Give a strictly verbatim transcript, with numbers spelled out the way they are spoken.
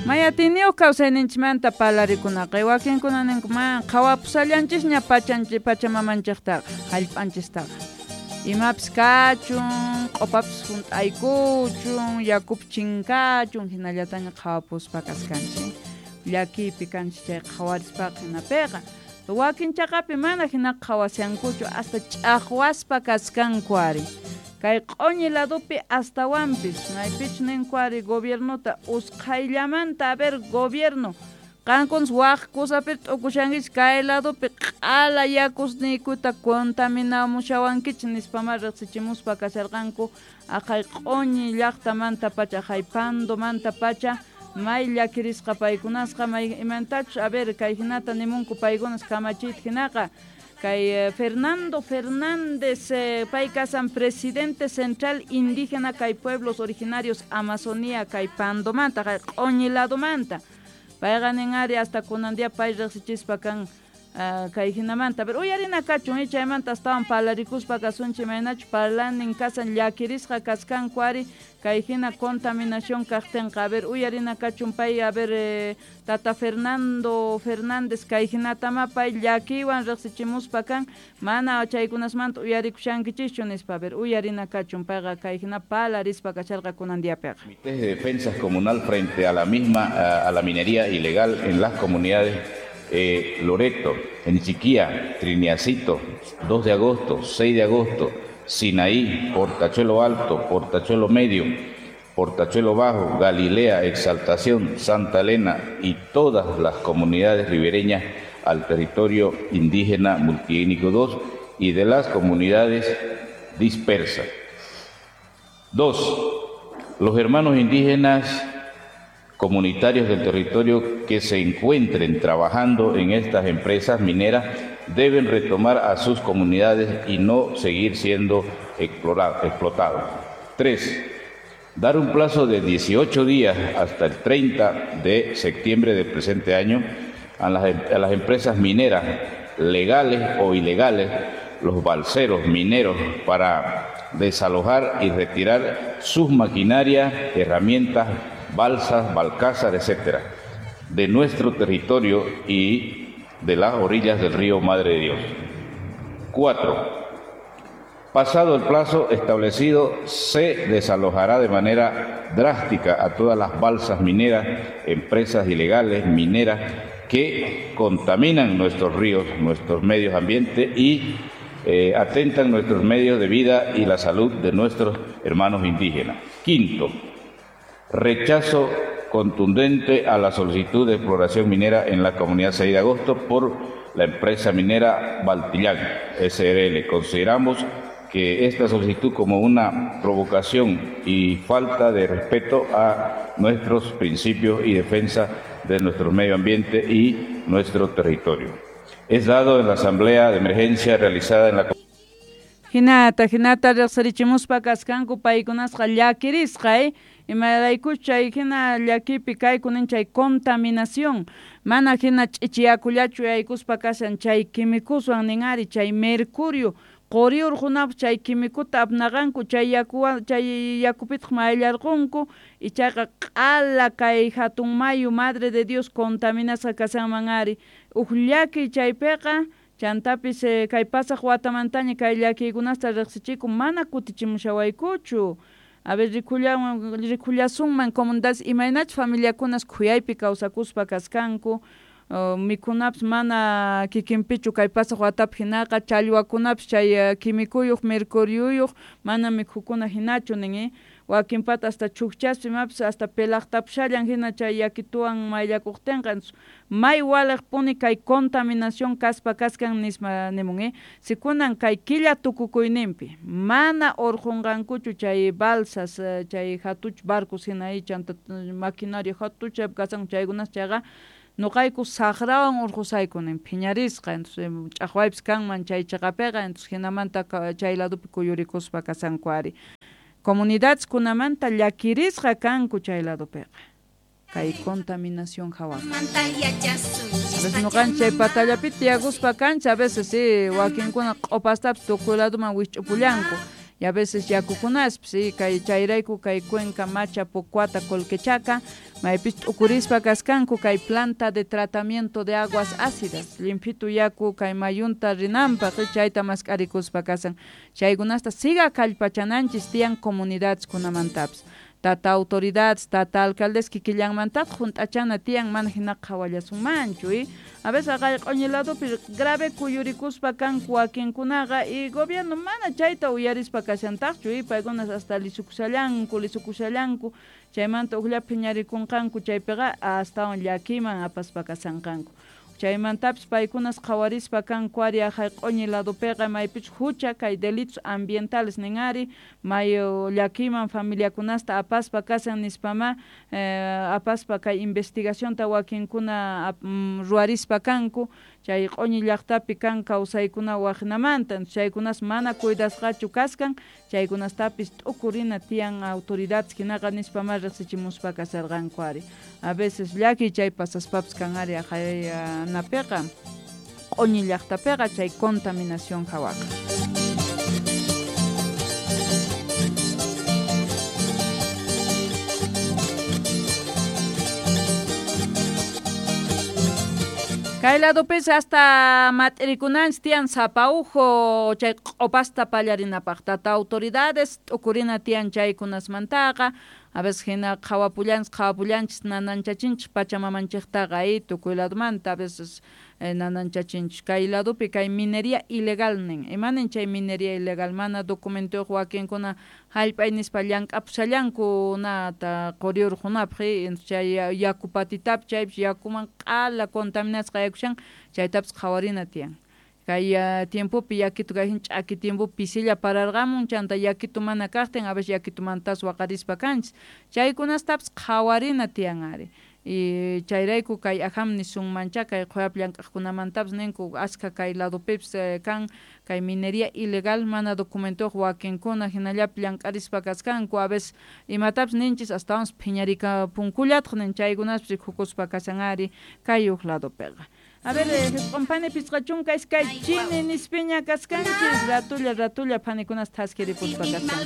Mayatiniyuq kawsayninchikmanta parlarikunaqa wakinkuna ninku ma qhawapusallanchisña pachanchik pachamamanchiktaqa hallp'anchistaqa imapis kachun q'upapis hunt'aykuchun yakupis chinkachun hinallataña qhawapuspa kaskanchik llakiypi kanchik chay qhawarispaqa hinapiqa wakin chaqapi mana hina qhawashankuchu hasta ch'aqwaspa kaskanku ari kay q'uñi ladopi astawanpis maypichu ninku ari gobiernota usqhayllamanta a ver gobierno qankunas waq kusapi t'ukushankichik kay ladopi q'ala yakusniykuta contaminamushawankichik nispama riqsichimuspa kasharqanku aqhay q'uñi llaqtamanta pacha aqhay Pandomanta pacha may llakirisqa paykunasqa may imantachus a ver kay hinata nimunku paykunas kamachiyta hinaqa kay Fernando Fernández eh, pay kasan presidente central indígena kay pueblos originarios Amazonía kay Pandomanta kay q'uñi ladomanta payqa nin ari hasta kunan día pay riqsichispa kan uh, kay hinamanta pero uyarina kachun chaymanta astawan parlarikuspa kasunchik imaynachu parlanin kasan llakirisqa kaskanku ari kay hina contaminación kaqtinqa a ver uyarina kachun pay a ver eh, tata Fernando Fernández kay hinatama pay llakiywan riqsichimuspa kan mana chaykunasmanta uyarikushankichischu nispa a ver uyarina kachun payqa kay hina parlarispa kasharqa kunan diapiqa. Comités de Defensa Comunal frente a la misma a, a la minería ilegal en las comunidades eh, Loreto, Enchiquía, Triniacito, dos de agosto, seis de agosto, Sinaí, Portachuelo Alto, Portachuelo Medio, Portachuelo Bajo, Galilea, Exaltación, Santa Elena y todas las comunidades ribereñas al territorio indígena multiétnico dos y de las comunidades dispersas. Dos, los hermanos indígenas comunitarios del territorio que se encuentren trabajando en estas empresas mineras deben retomar a sus comunidades y no seguir siendo explotados. Tres, dar un plazo de dieciocho días hasta el treinta de septiembre del presente año a las, a las empresas mineras legales o ilegales, los balseros mineros, para desalojar y retirar sus maquinarias, herramientas, balsas, balcázar, etcétera, de nuestro territorio y de las orillas del río Madre de Dios. Cuatro, pasado el plazo establecido, se desalojará de manera drástica a todas las balsas mineras, empresas ilegales mineras que contaminan nuestros ríos, nuestros medios ambientes y eh, atentan nuestros medios de vida y la salud de nuestros hermanos indígenas. Quinto, rechazo contundente a la solicitud de exploración minera en la comunidad seis de agosto por la empresa minera Baltillán S R L. Consideramos que esta solicitud como una provocación y falta de respeto a nuestros principios y defensa de nuestro medio ambiente y nuestro territorio. Es dado en la asamblea de emergencia realizada en la Hinata, hinata riqsirichimuspa kaskanku paykunasqa llakirisqa, eh? Imaraykuch chay hina llakipi kaykunin chay contaminación mana hina ch'ichiyakullachu yaykuspa kashan chay quimikuswan nin ari chay mercurio quri urqunapas chay quimikuta apnaqanku chay yakuwan chay yakupitaq mayllarqunku ichaqa q'ala kay hatun mayu Madre de Dios contaminasqa kashanman ari uj llaki chaypiqa chantapis eh, kay pasaq watamantaña kay llakiykunasta riqsichiku mana kutichimushawaykuchu. A ver, rikullasunman comunidades imaynachus familiakunas khuyaypi kawsakuspa kaskanku uh, mikhunapis mana kikinpichu kay pasaq watapi hinaqa challwakunapis chay uh, quimikuyuq mercuriuyuq mana mikhukuna hinachu nin eh? Wakinpata hasta chukchaspa imapis hasta pelaqtapushallan hina chay yakituwan mayllakuqtinqa may waliqpuni kay contaminación kaspa kaskan nisma nimun eh? Si kunan kay killa tukukuyninpi mana urqunqankuchu chay balsas chay hatuch barcos hina chanta maquinaria hatucha kasan chaykunas chayqa nuqayku saqrawan urqusayku nin phiñarisqa entonces ch'aqwaypis kanman chay chaqapiqa entonces hinamanta chay ladopi kuyurikuspa kasanku ari comunidades kunamanta llakirisqa kanku chay ladopiqa kay contaminación hawaqa. A veces nuqanchik chay patallapi tiyakuspa kancha a veces sí wakinkuna q'upastapis tukuy ladoman wisch'upullanku Y a veces yakukunaspis y kay chayrayku kay Cuenca, Macha, Pocuata, Colquechaca maypis t'ukurispa kaskanku kay planta de tratamiento de aguas ácidas limpitu yaku kay mayunta rinanpaq chayta mask'arikuspa kasan chaykunasta siga kallpachananchis tiyan comunidades kunamantapis tata autoridades, tata alcaldes kikillanmantataq junt'achana tiyan mana hina qhawallasunmanchu y a veces aqay q'uñi ladopi grave kuyurikuspa kanku wakinkunaqa y gobierno mana chayta uyarispa kashantaqchu y paykunas hasta lisukushallanku lisukushallanku chaymanta ujllapi phiñarikunqanku chaypiqa astawan llakiman apaspa kasanqanku chaymantapis paykunas qhawarispa kanku ari aqay q'uñi ladopiqa maypichus hucha kay delitos ambientales nin ari mayu llakiman familiakunasta apaspa kasan nispama eh, apaspa kay investigacionta wakinkuna mm, ruwarispa kanku chay q'uñi llaqtapi kan kawsaykuna waqnamanta chaykunas mana cuidasqachu kaskan chaykunastapis t'ukurina tiyan autoridades hinaqa nispama riqsichimuspa kasarqanku ari a veces llaki chay pasaspapis kan ari aqay napiqa q'uñi llaqtapiqa chay contaminación hawaqa. Kay ladopis hasta mat'irikunanchis tiyan sapaujo chay q'opasta pallarinapaq tata autoridades t'ukurina tiyan chaykunasmantaqa a veces hina qhawapullanchis qhawapullanchis nananchachinchis pachamamanchiktaqa y tukuy ladomanta a veces eh, nananchachinchis kay ladopi kay minería ilegal nin imanin chay minería ilegal mana documentoyuq wakinkuna hallp'ay nispa llank'apushallanku nata quriurqunapaq chay yaku patitapi chaypis yakuman q'ala contaminasqa yakushan chaytapis qhawarina tiyan kay uh, tiempopi yakitu kay ch'aki tiempopi pisilla pararqamun chanta yakitu mana kaqtin a veces yakitumantas waqarispa kanchis chaykunastapis qhawarina tiyan ari y chayrayku kay ajam nisunmancha kay qhuyapi llank'aqkunamantapis ninku askha kay ladopipis eh, kan kay minería ilegal mana documentoyuq wakinkuna hinallapi llank'arispa kaskanku a veces imatapis ninchis astawanpis phiñarikapunkullataq nin chaykunaspis rikukuspa kasan ari kay uq ladopiqa. A ver, jisq'un pisqa chunka iskay chini nispiña kaskanchis ratulla ratulla phanikunas thaskiripuspa kaskanchis.